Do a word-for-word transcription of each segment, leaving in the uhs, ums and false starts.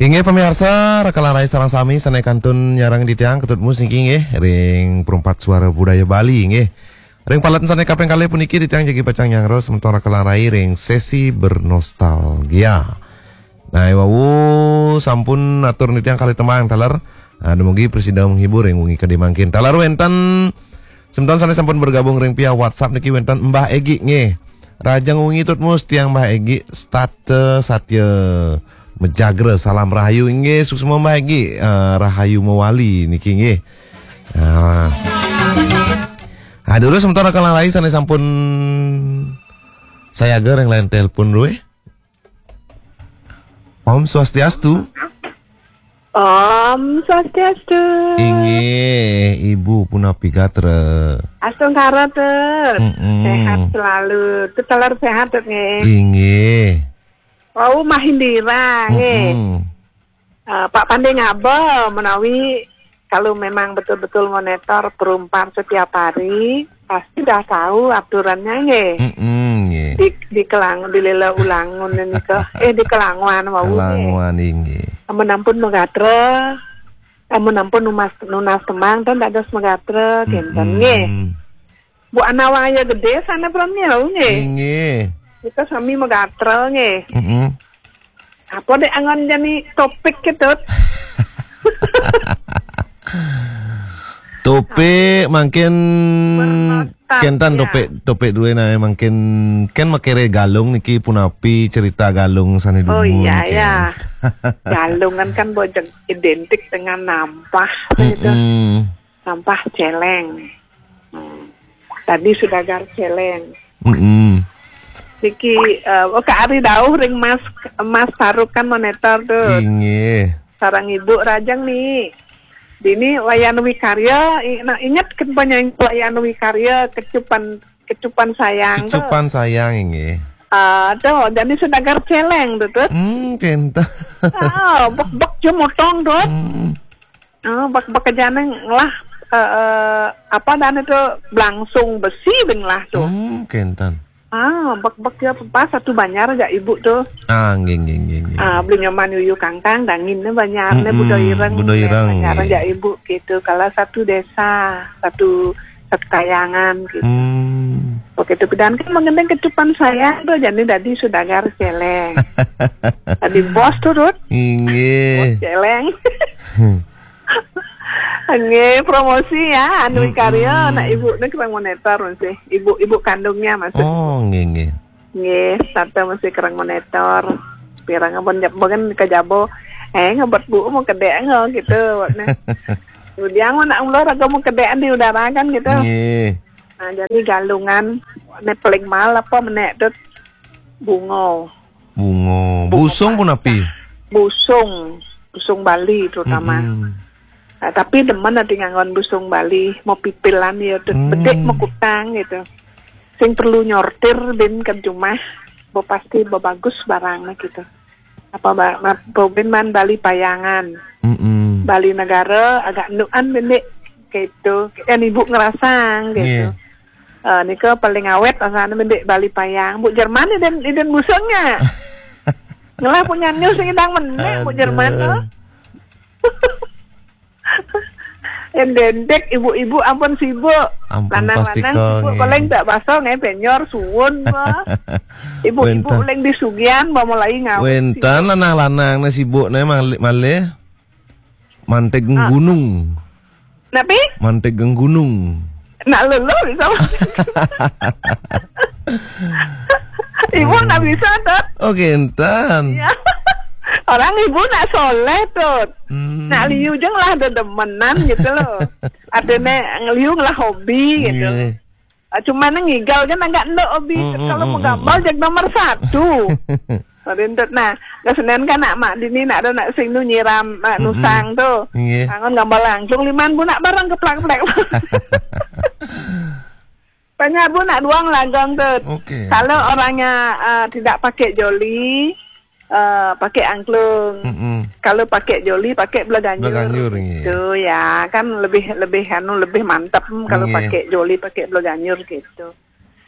Inggih pamiarsa, raka lan rai sareng sami sané kantun nyarengin titiang Ketut Mus niki inggih ring Perumpat Suara Budaya Bali inggih. Ring paletan sané kaping kalih puniki titiang jagi pacang nyanggra semeton raka lan rai ring sesi bernostalgia. Nah, wau sampun atur titiang kalih tembang taler. Ah, dumugi prasida menghibur ring wengi kadi mangkin. Taler wénten semeton sané sampun bergabung ring via WhatsApp niki wénten Mbah Egi nggih. Rahajeng wengi Tut Mus, tiang Mbah Egi setata satya majagra, salam rahayu inggih, suksma Mbah Egi, eh, rahayu mawali niki nggih. Ah. Aduh, semeton raka lan rai sané sampun sayaga ring line telepon dué. Om Swastiastu. Om Swastiastu. Inggih, Ibu punapi gatra? Astungkara, Tut. Mm-mm. Sehat selalu. Tut taler sehat, Tut, nggih. Inggih. Wau Mahindira, nggih. Mm-mm. Eh, Pak Pandé ngaba menawi kalau memang betul-betul monitor Perumpat setiap hari, pasti dah tahu aturannya, nggih. Mm-mm, nggih. Di, di Kelang, di Lela Ulangun nika. Eh, di Kelanguan wau, nggih. Kelanguan, inggih. Amun ampun magatra, amun ampun nunas, nunas tembang, ten dados magatra, kinten, nggih. Mm-mm. Bu Anawaya Gedé sané pramila, nggih. Inggih. Kita sami magatra, nggih. Mm-mm. Apa dek anggon jani topik, Tut? Topik mangkin bernostalgia. Kénten topik, topik dué nah mangkin kan makiré Galung niki punapi cerita Galung sané dumun. Oh iya, niki. Ya. Galungan kan bojog identik dengan nampah, gitu. Mm-mm. Nampah Céléng. Hmm. Tadi Sudagar Céléng. Mm-mm. Niki, eh, oh, Kak Ari dauh ring Mas, Mas Faruk kan monitor, Tut. Inggih. Sareng Ibu rahajeng nih. Dini Wayan Wikarya, i-, nah, inget kan penyanyi Wayan Wikarya, Kecupan, Kecupan Sayang, Tut. Kecupan Sayang, inggih. Ah, Tut, jani Sudagar Céléng, Tut, Tut. Hmm, kénten. Ah, bek-bek jemotong, Tut. Hmm. Oh, bek-, bek jani ngelah, eh, eh, apa dan itu, belangsung besi bin lah, Tut. Hmm, kénten. Ah, bek-bek ya pas satu banjar ajak Ibu, Tut. Ah, nggih, nggih, nggih, nggih. Ah, beli Nyoman Yuyu Kangkang, dangin nih banjar nih, mm-mm, Budo Ireng, Budo Ireng, banjar, nggih, ajak Ibu gitu. Kalau satu desa, satu, satu kayangan gitu. Hmm. Begitu, dan kan mengenai Kecupan Sayang, Tut, jani dadi Sudagar Céléng. Tadi bos, Tut, Tut. Inggih. Bos Céléng. Hmm. Nggih, promosi ya, anu, mm-mm, karya anak Ibu nih kereng monitor masih. Ibu, ibu kandungnya masih. Oh, nggih, nggih. Nggih, tante masih kereng monitor. Pirang ampun jab-, mungkin ke jabo. Eh, ngebet Bu mau kedek nggak gitu. Nah. Kemudian mau nak ular agak mau kedekan di udara kan gitu. Nggih. Nah, jadi Galungan, nek paling mal apa menek, Tut? Bunga. Bunga. Bunga. Busung pun api? Busung. Busung Bali terutama. Mm-mm. Nah, tapi demen ati nganggon busung Bali, mau pipilan ya, Tut. Hmm. Bedik mau kutang gitu. Sing perlu nyortir bin ke jumah, bo pasti bo bagus barangnya gitu. Apa ba-, ma-, bo bin man Bali Payangan. Mm-mm. Bali Negara agak nuan bin, Dik, gitu. Kan Ibu ngerasang gitu. Nggih. Eh, nika paling awet rasanya bin, Dik, Bali Payang. Bu Jerman iden, iden busungnya. Ngelah punya nyus sing idang menek, Bu Jerman, aduh, tuh. Endendek, ibu-ibu ampun sibuk. Ampun, lanang-lanang pastika, sibuk, nggih. Paling tak basah nggih, penyor, suwun, bah. Ibu-ibu wénten, paling di sugihan, bah, mulai ngawin. Wénten sibuk. Lanang-lanang né sibuk né mal-, malih mantik, ah, gunung. Napi? Mantik gunung. Nak luluh bisa. Ibu, hmm, nak bisa, Tut. Oh, kénten. Iya. Orang ibu nak soleh, Tut. Hmm. Nak liu jeng lah dedemenan gitu loh. Adene ngeliu ngelah hobi gitu. Nggih. Ah, cuman ngigal kan agak nduk hobi. Hmm, hmm, kalau hmm, mau gambar, hmm, jag nomor satu. Rintet nah, kesenian kan nak mak dini nak ada nak sing nu nyiram, nak, hmm, hmm, nusang tuh. Nggih. Angon gambar langsung liman bu nak barang keplak-plek. Banyak bu nak duang lagang tuh. Oke. Kalau orangnya, eh, tidak pakai joli, eh, pakai angklung. Mm-mm. Kalau pakai joli, pakai belaganjur. Belaganjur, iya. Gitu ya, kan lebih, lebih anu, lebih mantep kalau, iya, pakai joli, pakai belaganjur gitu.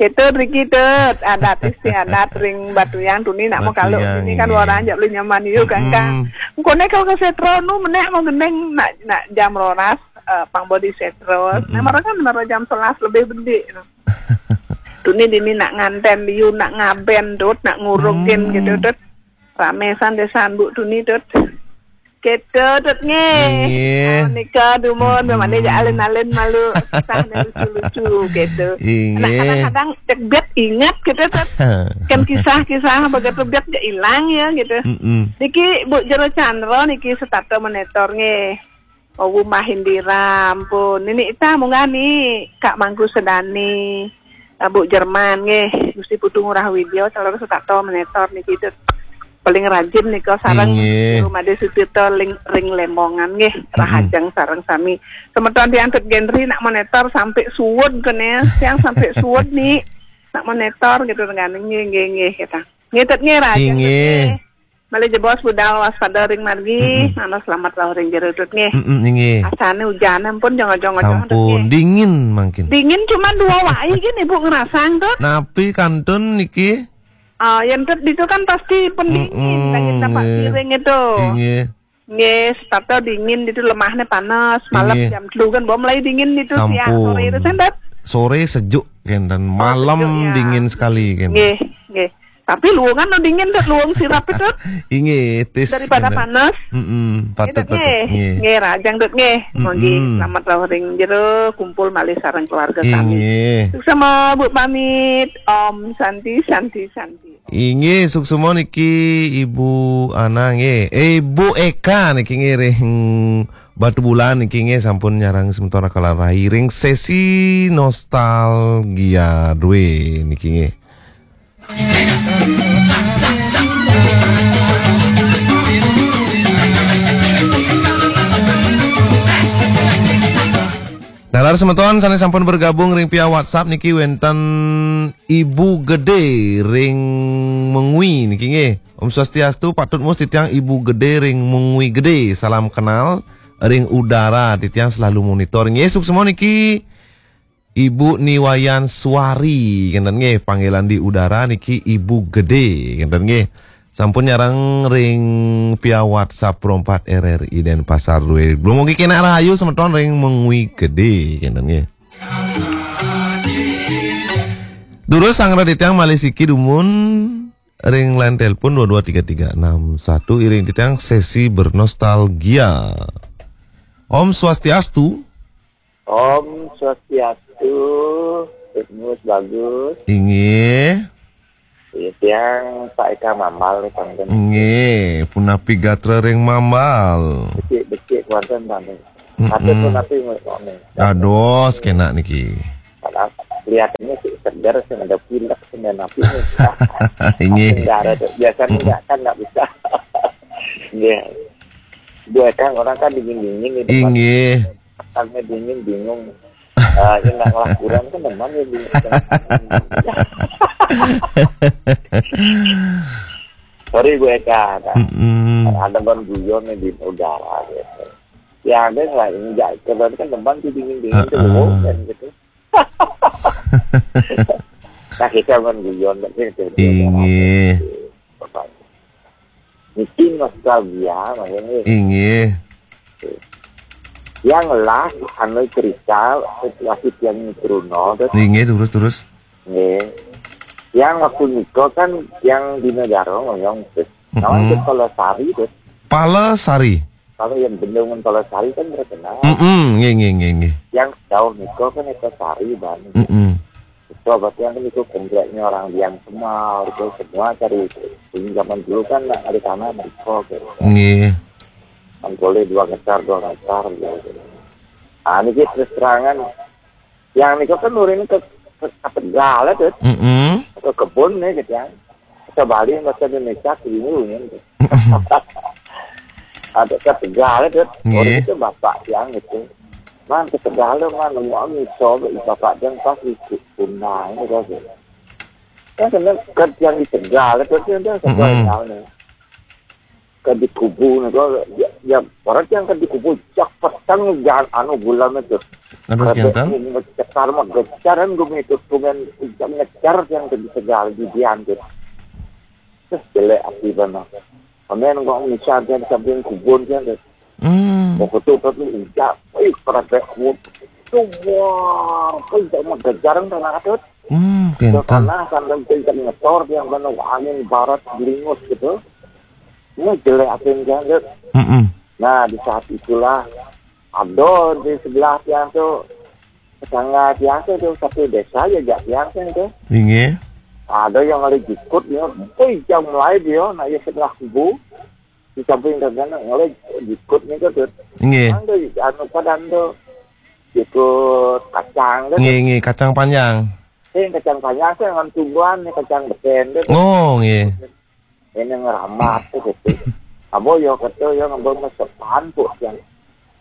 Itu riki tuh adat istiadat ring Batuyang tuni nak mau kalau Batuyang, ini kan, iya, orang aja belum nyaman yuk kan, kan. Mm-mm. Koné kalau ke Setro nu menék mau gendeng nak, nak jam rolas, eh, pang bodi Setro. Nah, mereka kan baru jam sebelas lebih bedik. Tuni dini nak nganten liu, nak ngaben dut, nak ngurungin gitu dut. Rame san desan Bu Tuni dut. Gitu dut nggih. Nggih. Oh, nika dumun, memang dia alin-alin malu, kisah lucu-lucu gitu. Nggih. Nah, kadang-kadang cek bet ingat gitu dut. Kan kisah-kisah begitu bet ya hilang ya gitu. Mm-mm. Niki Bu Jero Chandra niki setata monitor nggih. Oh, Bu Mahindira, ampun. Nini ita munggah ni Kak Mangku Sedani, eh, Bu Jerman nggih. Gusti Putu Ngurah Widya, calon setata monitor niki dut. Paling rajin nika sareng nggih. Rumade Sutirta ring, ring Lembongan nggih. Mm-mm. Rahajeng sareng sami. Semeton tiang tut Gendri nak monitor sampai suwud kene, tiang sampai suwud ni. Nak monitor gitu dengan nggih, nggih, nggih, kita. Nggih, tut nggih, rahajeng tut nggih. Nggih. Malih jebos budal waspada ring margi, mm-mm. Manah selamat rauh ring jero dut nggih. Mm-mm, nggih. Asane ujan ampun jongo-jongo dut nggih. Sampun dingin mangkin. Dingin cuma dua wai gini Bu ngerasang dut. Napi kantun niki? Ah, yang dut itu kan pasti pendingin, mm-mm, lagi tampak nggih. Piring itu. Nggih. Nggih, setata dingin itu lemahnya panas, malam nggih. Jam telu kan bom mulai dingin itu siang, sampun. Sore itu sendet. Sore sejuk kenten, oh, malam sejuk, ya. Dingin sekali kenten. Nggih, nggih. Tapi luungan no dingin dut, luung sirap itu. Inggih, tis kenten. Daripada panas. Mm-mm, patut, gitu, patut. Nggih. Nggih. Nggih, rajang dut nggih. Mm-mm. Mogi selamat rauh ring jero, kumpul malih sareng keluarga sami. Inggih. Suksma Bu pamit. Om Santi, Santi, Santi. Inggih, suksma niki Ibu Ana nggih. Eh, Ibu Eka niki nggih ring Batubulan niki nggih sampun nyarengin semeton Kala Rai ring sesi nostalgia due niki nggih. Nalar semeton sane sampun bergabung ring via WhatsApp niki wenten Ibu Gede ring Mengwi niki nggih. Om Swastiastu, patut mus titiang Ibu Gede ring Mengwi Gede. Salam kenal ring Udara, titiang selalu monitor. Nggih, suksma niki Ibu Niwayan Suari, kenten nggih, panggilan di Udara niki Ibu Gede, kenten nggih. Sampun nyarengin ring via WhatsApp Pro empat R R I Denpasar due. Belum mugi kenak rahayu semeton ring Mengwi Gede, kenten nggih. Durus sang raditang malih siki dumun ring line telepon dua dua tiga tiga enam satu, iring titiang sesi bernostalgia. Om Swastiastu. Om Swastiastu, Gus Bagus. Inggih. Iya, tiang Pak Eka Mambal nih, Pak. Inggih, punapi gatra ring Mambal? Becik-becik kuanten, Pak. Mm-mm. Tapi punapi ngomong. Dados kenak niki. Padahal kelihatannya sih seger, sih ada pilek, sih ada napi nih. Inggih. Darah tuh. Biasanya mm-mm. Nggak kan, nggak bisa. Iya. Gue kan orang kan dingin-dingin nih, Pak. Inggih. Tangnya dingin, bingung. Eh, ini nak ngelakuran kan teman ya, bingung. Sorry gue kan. Mm-mm. Ada ban guyon nih di udara gitu. Ya ada lah, enggak, berarti kan teman tuh dingin-dingin tuh, heeh. Kan gitu. Nah, kita ban guyon kan gitu. Inggih. Niki nostalgia, maksudnya. Inggih. Yang lah, anu cerita, situasi yang Bruno, terus. Inggih, terus, terus. Nggih. Yang waktu nikah kan, yang di negara ngoyong, terus. Nawan mm-mm. Itu Palesari, terus. Palesari? Kalau yang bendungan Palesari kan terkenal. Mm-mm, nggih, nggih, nggih, nggih. Yang jauh nikah kan itu Sari, Bani. Mm-mm. Itu berarti yang itu kompleknya orang Dian Semal, itu semua cari itu. Ini zaman dulu kan ada tanah di kok, gitu. Nggih. Kan boleh dua hektar, dua hektar, gitu. Nah, ini terus terangan, yang niku kan nurin ke, ke, ke Tegal, ya, tuh. Mm-mm. Ke kebun, ya, gitu, ya. Ke Bali, bahasa Indonesia, keliling, ya, gitu. Ada ke Tegal, ya, tuh. Nggih. Orang itu bapak yang gitu. Man, ke Tegal, man, nemu ami, sobe, bapak yang pas di Sunda, ini, gitu. Kan kena kerja di Tegal, ya, tuh, dia, dia, mm-mm. Sekolah, ya, nih. Ke di kubu nih, kok, ya, ya, orang yang ke di kubu, jak petang, jangan anu bulan itu. Terus ada kenten? Ngecekar mah, geceran gue itu, cuman ngejar yang ke di Tegal, di Dian tuh. Terus jelek api banget. Pamen kok misal dia di samping kubun dia, Dut. Hmm. Kok itu, Dut, ujak, ih, kerepek kubun. Tuh, wah, kok ujak mau kejar, Dut, anak, Dut. Hmm, Dut, kentan. Karena sambil kencang ngetor, dia kan angin barat, gelimus gitu. Ini jelek asin dia, Dut. Mm-mm. Nah, di saat itulah, ada di sebelah tiang tuh, tetangga tiang tuh, tuh, satu desa aja, jak tiang tuh, itu. Inggih. Ada yang ada jikut, ya. Wih, jam mulai dia, nak ya sebelah kubu. Di samping dagangan, oleh jikut nih, Dut. Nggih. Anu, anu, padan tuh. Jikut kacang, Dut. Nggih, nggih, kacang panjang. Eh, kacang panjang sih, dengan tumbuhan nih, kacang beten, Dut. Oh, nggih. Ini ngeramat tuh, gitu. Abo, yo, kata, yo, ngambil mesepan, Bu, yang.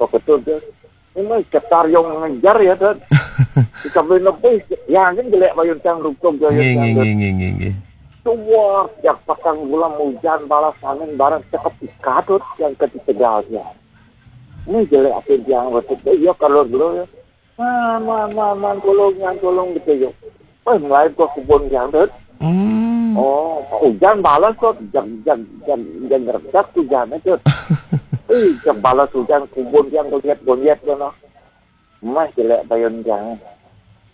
Kok betul, Dut. Ini cetar yang ngejar, ya, Dut. Di samping lebih, ya, kan jelek bayun tang rukuk, ya, nggih, ya, nggih, Dut. Nggih, nggih, nggih, nggih. Tuwah, jak patang bulan hujan, balas angin, barang cekep ikatut yang ketiga dia. Ini jelek apa yang betul? Iya, kalau dulu ya. Man, man, man, man, tolong, yang tolong gitu, yo. Wah, mulai gua kubun yang, Dut. Hmm. Oh, hujan balas kok, jag, jag, jag, jag, redak hujan itu. Ih, jag balas hujan, kubun yang gonyet-gonyet, kono. Mah jelek bayun yang.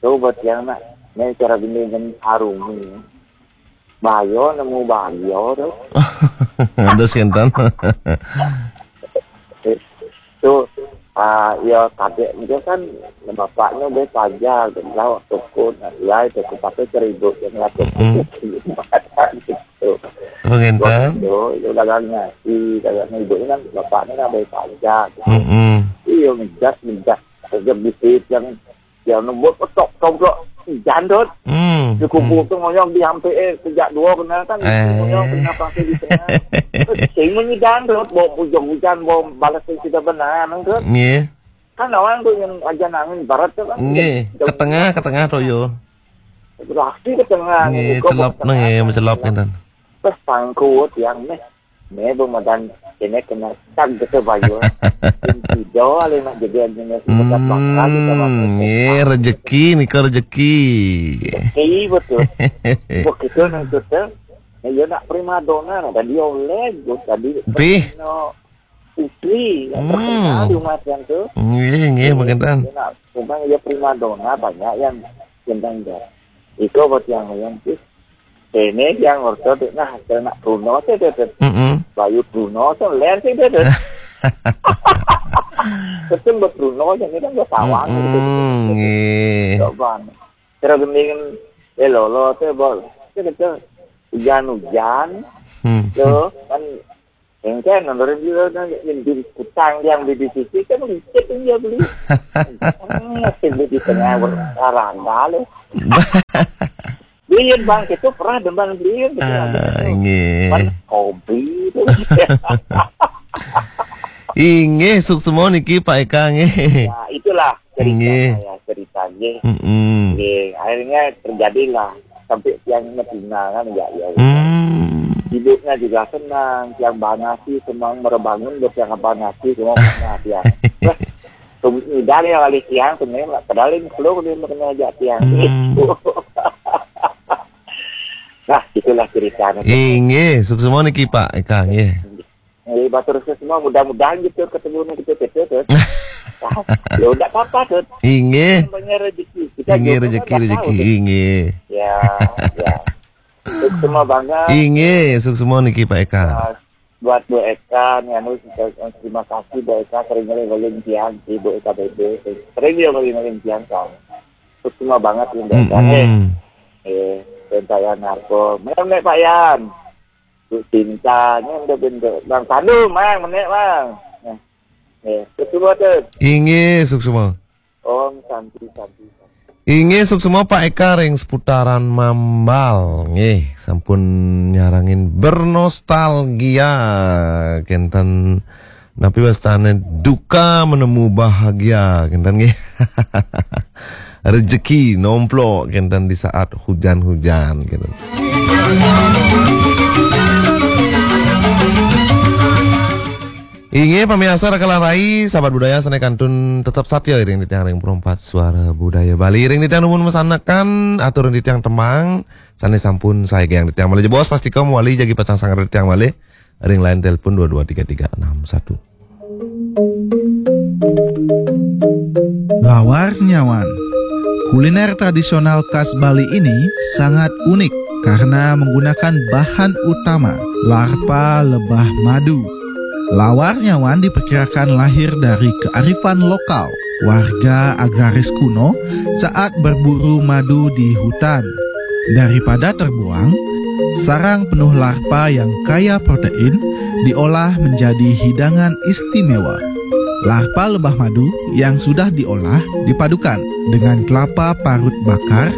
Coba tiang nak, ini cara gini, gini, arung ini. Bayo nemu bayo tu. Ada sinten. Tu, ah, ya, kadek dia kan, bapaknya be paja, lawak toko, nak, ya, itu pakai seribu, yang ngatur. Mm-mm. Gitu. Oh, ngenten. Itu, itu dagang nasi, dagang ibu kan, bapaknya kan be paja. Mm-mm. Iya, ngejak, ngejak. Kerja bisnis yang, yang nembut petok, tok, tok, jandut. Hmm, di kubu hmm. Tu ngoyong di hampir, eh, sejak dua kena kan, eh. Ngoyong kena pakai di tengah. Sing menyi jandut, bawa bujang hujan, bawa balas yang tidak benar, kan? Nggih. Kan orang tu yang aja nangin barat tu kan. Nggih, ke tengah, ke tengah tu, yo. Berarti ke tengah. Nggih, celop nang, nggih, mencelop kan. Terus pangkut yang ni. Ni pun madan ini kena tag gitu bayu. Tidak, alih nak jadi jenis. Hmm, makan, kita makan. Nggih, rezeki, nika rezeki. Rezeki, betul. Begitu nang tu, nah, ya nak primadona, nah, tadi oleh, tadi. Pih. Terkenal putri, yang terkenal di rumah yang tu. Nggih, nggih, mungkin tan. Ya nak, memang ya primadona, banyak yang gendang dia. Iko buat yang, yang tu. Ini yang orto tu, nah, kena nak Bruno tu, tu, tu. Mm-mm. Bayu Bruno tu, ler tu, tu, tu. Betul buat Bruno, yang ni kan buat tawang, gitu. Mm-mm, nggih. Coba. Terus gending, eh, lolo tu, bol. Tu, tu, tu. Hujan-hujan. Hmm. Tu, kan, engke, menurut dia, kan, yang di kutang, yang di, di sisi, kan, licin dia beli. Hmm, masih di tengah, ber-, olahraga, lu. Beliin, Bang, itu pernah demen beliin, gitu, ah, gitu. Nggih. Kan hobi tu. Inggih, suksma niki, Pak Eka, nggih. Ya, itulah cerita nggih. Saya, cerita, nggih. Mm-mm. Nggih, akhirnya terjadilah sampai tiang ngetina kan, ya, ya. Hmm. Ibunya juga senang, tiang banasi, senang merebangun, buat tiang banasi, semua pernah tiang. Wah, Tum-, udah nih kali siang, sebenarnya nggak pedalin, keluar dia kena ajak siang. Hmm. Nah, itulah ceritanya. Inggih, suksma niki, Pak Eka, nggih. Eh, batur semua, mudah-mudahan gitu ketemu nih, gitu, gitu, tuh. Ah, ya udah apa-apa, tuh. Inggih. Namanya rezeki. Kita inggih, jodoh rezeki, kan nggak rezeki, tahu, tuh. Inggih. Ya, ya. Suksma banget. Inggih, suksma niki, Pak Eka. Ah, buat Bu Eka, nih, anu, terima kasih, Bu Eka, sering kali ngolin tiang, si Bu Eka B B, sering dia ngolin-ngolin tiang, kan. Suksma banget, Bu Eka. Mm-mm. Eh, eh, dan saya narko. Mana, mana, Pak Yan? Bu Cinta, ini udah bentuk. Bang Pandu, Bang, menek, Bang. Nah, eh, suksma, tuh. Inggih, suksma. Om Santi, Santi, Santi. Inggih, suksma Pak Eka ring seputaran Mambal. Nggih, sampun nyarengin bernostalgia. Kenten napi wastane duka menemu bahagia. Kenten nggih. Rezeki nomplok kenten di saat hujan-hujan, kenten. Inggih, pamiarsa Raka lan Rai, sahabat budaya sane kantun tetep satya iring titiang ring Pro empat Suara Budaya Bali. Iring titiang nuwun masanekan, atur titiang tembang sane sampun saegang titiang malih jebos, pastika mawali jagi pacang sanget titiang malih. Ring line telepon dua dua tiga tiga enam satu. Lawar nyawan. Kuliner tradisional khas Bali ini sangat unik karena menggunakan bahan utama larpa lebah madu. Lawar nyawan diperkirakan lahir dari kearifan lokal warga agraris kuno saat berburu madu di hutan. Daripada terbuang, sarang penuh larpa yang kaya protein diolah menjadi hidangan istimewa. Larpa lebah madu yang sudah diolah dipadukan dengan kelapa parut bakar,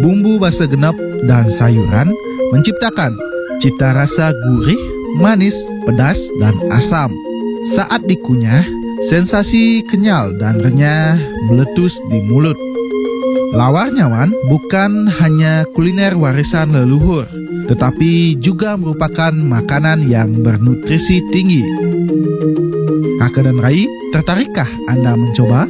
bumbu basa genep, dan sayuran menciptakan cita rasa gurih, manis, pedas, dan asam. Saat dikunyah, sensasi kenyal dan renyah meletus di mulut. Lawar nyawan bukan hanya kuliner warisan leluhur, tetapi juga merupakan makanan yang bernutrisi tinggi. Kakak dan Rai, tertarikkah Anda mencoba?